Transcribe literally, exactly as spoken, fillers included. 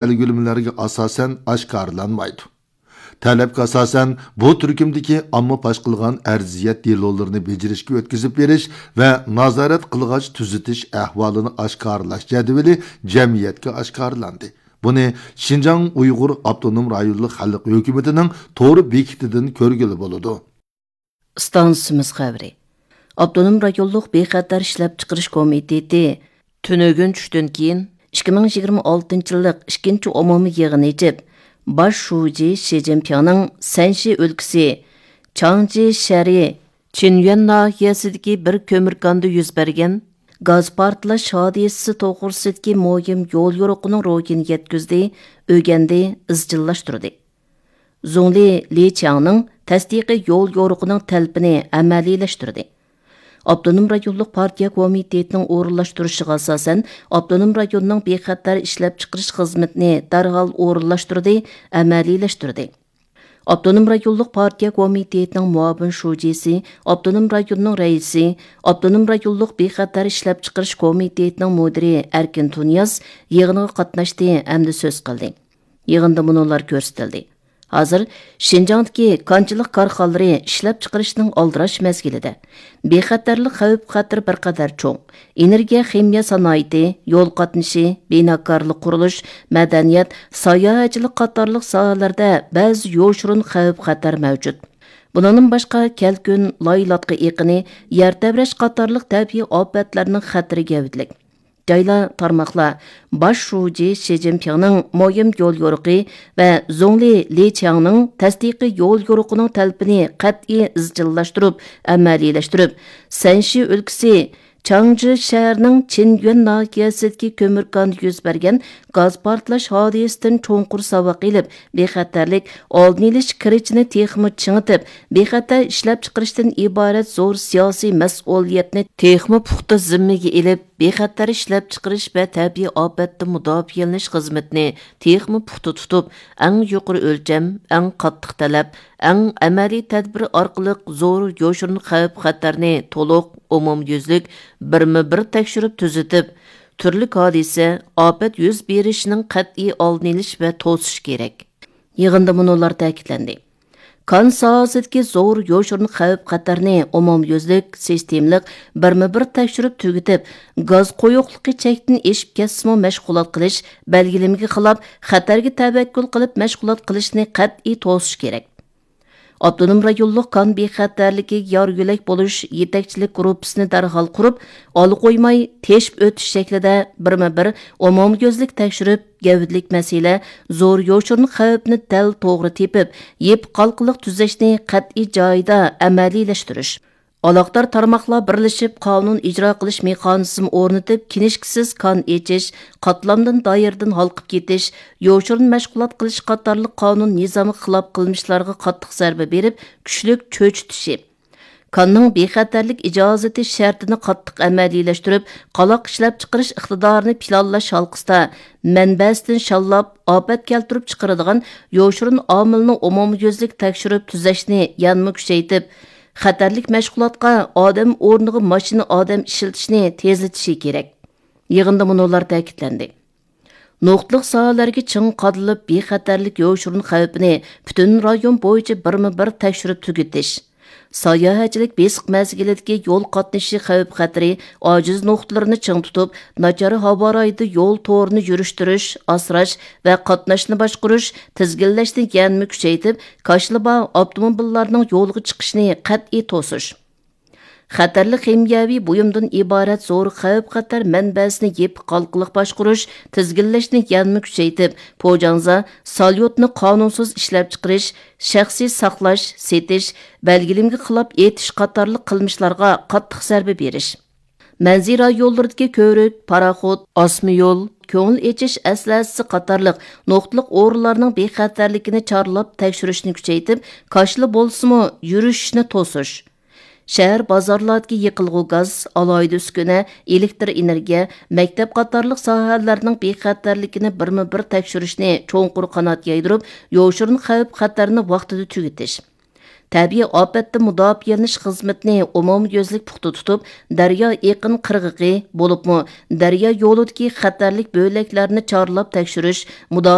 بەلگىلىمىلەرگە ئاساسەن ئاشكارىلانمايدۇ. تەلەپكە ئاساسەن، بۇ تۈركۈمدىكى ئامما پاش قىلغان ئەرزىيەت دېلولىرىنى بېجىرىشكە ئۆتكۈزۈپ بېرىش ۋە نازارەت قىلغاچ تۈزىتىش ئەھۋالىنى ئاشكارىلاش جەدۋىلى جەمئىيەتكە ئاشكارىلاندى. بۇنى شىنجاڭ ئۇيغۇر ئاپتونوم رايونلۇق خەلق ھۆكۈمىتىنىڭ تور بېكىتىدىن كۆرگىلى بولىدۇ. ئىستانسىمىز خەۋىرى. ئاپتونوم رايونلۇق بىخەتەر ئىشلەپچىقىرىش كومىتېتى تۈنۈگۈن چۈشتىن كېيىن ئىككى مىڭ يىگىرمە ئالتىنچى يىللىق ئىككىنچى ئومۇمىي يىغىنى ئېچىپ، باش شۇجى شى جىنپىڭنىڭ سەنشى ئۆلكىسى چاڭجى شەھىرى چىنيۈەن ناھىيەسىدىكى بىر كۆمۈر كاندا يۈز بەرگەن گاز پارتلاش ھادىسىسى توغرىسىدىكى مۇھىم يول يورۇقىنىڭ روھىنى يەتكۈزدى، ئۆگەندى، ئىزچىللاشتۇردى. زۇڭلى لى چياڭنىڭ تەستىقىي يول يورۇقىنىڭ تەلىپىنى ئەمەلىيلەشتۈردى. ئاپتونوم رايونلۇق پارتىيە كومىتېتىنىڭ ئورۇنلاشتۇرۇشىغا ئاساسەن، ئاپتونوم رايوننىڭ بىخەتەر ئىشلەپچىقىرىش خىزمىتىنى دەرھال ئورۇنلاشتۇردى، ئەمەلىيلەشتۈردى. ئاپتونوم رايونلۇق پارتىيە كومىتېتىنىڭ مۇئاۋىن شۇجىسى، ئاپتونوم رايوننىڭ رەئىسى، ئاپتونوم رايونلۇق بىخەتەر ئىشلەپچىقىرىش كومىتېتىنىڭ مۇدىرى ئەركىن تۇنىياز يىغىنغا قاتناشتى ھەمدە سۆز قىلدى. يىغىندا مۇنۇلار كۆرسىتىلدى. ھازىر شىنجاڭدىكى كانچىلىق كارخانىلىرى ئىشلەپچىقىرىشنىڭ ئالدىراش مەزگىلىدە، بىخەتەرلىك خەۋپ-خەتىرى بىر قەدەر چوڭ. ئېنېرگىيە خىمىيە سانائىتى، يول قاتنىشى، بىناكارلىق، قۇرۇلۇش، مەدەنىيەت، ساياھەتچىلىك قاتارلىق ساھەلەردە بەزى يوشۇرۇن خەۋپ-خەتەر مەۋجۇت. بۇنىڭدىن باشقا، كەلكۈن، لايلاتقا ئېقىنى، يەر تەۋرەش قاتارلىق تەبىئىي ئاپەتلەرنىڭ خەتىرى گەۋدىلىك. جايلار، تارماقلار باش شۇجى شى جىنپىڭنىڭ مۇھىم يول يورۇقى ۋە زۇڭلى لى چياڭنىڭ تەستىقىي يول يورۇقىنىڭ تەلىپىنى قەتئىي ئىزچىللاشتۇرۇپ، ئەمەلىيلەشتۈرۈپ، سەنشى ئۆلكىسى چاڭجى شەھىرىنىڭ چىنيۈەن ناھىيەسىدىكى كۆمۈر كاندا يۈز بەرگەن گاز پارتلاش ھادىسىسىدىن چوڭقۇر ساۋاق ئېلىپ، بىخەتەرلىك ئالدىنى ئېلىش كىرىچىنى تېخىمۇ چىڭىتىپ، بىخەتەر ئىشلەپچىقىرىشتىن ئىبارەت زور سىياسىي مەسئۇلىيەتنى تېخىمۇ پۇختا زىممىگە ئېلىپ، بىخەتەر ئىشلەپچىقىرىش ۋە تەبىئىي ئاپەتتىن مۇداپىئەلىنىش خىزمىتىنى تېخىمۇ پۇختا تۇتۇپ، ئەڭ يۇقىرى ئۆلچەم، ئەڭ قاتتىق تەلەپ، ئەڭ ئەمەلىي تەدبىر ئارقىلىق زور يوشۇرۇن خەۋپ-خەتەرنى تولۇق، ئومۇميۈزلۈك، بىرمۇ بىر تەكشۈرۈپ تۈزىتىپ، تۈرلۈك ھادىسە، ئاپەت يۈز بېرىشىنىڭ قەتئىي ئالدىنى ئېلىش ۋە توسۇش كېرەك. يىغىندا مۇنۇلار تەكىتلەندى. كان ساھەسىدىكى زور يوشۇرۇن خەۋپ-خەتەرنى ئومۇميۈزلۈك، سىستېمىلىق، بىرمۇ بىر تەكشۈرۈپ تۈگىتىپ، گاز قويۇقلۇقى چەكتىن ئېشىپ كەتسىمۇ مەشغۇلات قىلىش، بەلگىلىمىگە خىلاپ، خەتەرگە تەۋەككۈل قىلىپ مەشغۇلات قىلىشنى قەتئىي توسۇش كېرەك. ئاپتونوم رايونلۇق كان بىخەتەرلىكىگە يار يۆلەك بولۇش يېتەكچىلىك گۇرۇپپىسىنى دەرھال قۇرۇپ، ئالا قويماي تېشىپ ئۆتۈش شەكلىدە بىرمۇ بىر ئومۇميۈزلۈك تەكشۈرۈپ، گەۋدىلىك مەسىلە، زور يوشۇرۇن خەۋپنى دەل توغرا تېپىپ، يېپىق ھالقىلىق تۈزەشنى قەتئىي جايىدا ئەمەلىيلەشتۈرۈش. ئالاقىدار تارماقلار بىرلىشىپ قانۇن ئىجرا قىلىش مېخانىزمى ئورنىتىپ، كىنىشكىسىز كان ئېچىش، قاتلامدىن دائىرىدىن ھالقىپ كېتىش، يوشۇرۇن مەشغۇلات قىلىش قاتارلىق قانۇن نىزامىغا خىلاپ قىلمىشلارغا قاتتىق زەربە بېرىپ، كۈچلۈك چۆچۈتۈشى. كاننىڭ بىخەتەرلىك ئىجازىتى شەرتىنى قاتتىق ئەمەلىيلەشتۈرۈپ، قالاق ئىشلەپچىقىرىش ئىقتىدارىنى پىلانلاش ھالقىسىدا مەنبەسىدىن شاللاپ، ئاپەت كەلتۈرۈپ چىقىرىدىغان يوشۇرۇن ئامىلنى ئومۇميۈزلۈك تەكشۈرۈپ تۈزەشنى يەنىمۇ كۈچەيتىپ، خەتەرلىك مەشغۇلاتقا ئادەم ئورنىغا ماشىنا ئادەم ئىشلىتىشنى تېزلىتىشى كېرەك. يىغىندا مۇنۇلار تەكىتلەندى. نۇقتىلىق ساھەلەرگە چىڭ قادىلىپ، بىخەتەرلىك يوشۇرۇن خەۋپىنى پۈتۈن رايون بويىچە بىرمۇ بىر تەكشۈرۈپ تۈگىتىش. ساياھەتچىلىك بېسىق مەزگىلىدىكى يول قاتنىشى خەۋپ-خەتىرى ئاجىز نۇقتىلىرىنى چىڭ تۇتۇپ، ناچار ھاۋا رايىدا يول تورىنى يۈرۈشتۈرۈش، ئاسراش ۋە قاتناشنى باشقۇرۇش، تىزگىنلەشنى يەنىمۇ كۈچەيتىپ، كاشىلا بار ئاپتوموبىللارنىڭ يولغا چىقىشىنى قەتئىي توسۇش. خەتەرلىك خىمىيەۋى بۇيۇمدىن ئىبارەت زور خەۋپ-خەتەر مەنبەسىنى يېپىق ھالقىلىق باشقۇرۇش، تىزگىنلەشنى يەنىمۇ كۈچەيتىپ، پوجاڭزا، ساليۇتنى قانۇنسىز ئىشلەپچىقىرىش، شەخسىي ساقلاش، سېتىش، بەلگىلىمىگە خىلاپ ئېتىش قاتارلىق قىلمىشلارغا قاتتىق زەربە بېرىش. مەنزىرە يوللىرىدىكى كۆۋرۈك، پاراخوت، ئاسما يول، كۆڭۈل ئېچىش ئەسلىھەسى قاتارلىق نۇقتىلىق ئورۇنلارنىڭ بىخەتەرلىكىنى چارلاپ تەكشۈرۈشنى كۈچەيتىپ، كاشىلا بولسىمۇ يۈرۈشۈشنى توسۇش. شەھەر بازارلاردىكى يېقىلغۇ گاز، ئالاھىدە ئۈسكۈنە، ئېلېكتر ئېنېرگىيە، مەكتەپ قاتارلىق ساھەلەرنىڭ بىخەتەرلىكىنى بىرمۇ بىر تەكشۈرۈشنى چوڭقۇر قانات يايدۇرۇپ، يوشۇرۇن خەۋپ-خەتەرنى ۋاقتىدا تۈگىتىش. تەبىئىي ئاپەتتىن مۇداپىئەلىنىش خىزمىتىنى ئومۇميۈزلۈك پۇختا تۇتۇپ، دەريا ئېقىن قىرغىقى، بولۇپمۇ دەريا يولىدىكى خەتەرلىك بۆلەكلەرنى چارلاپ تەكشۈرۈش، مۇداپىئە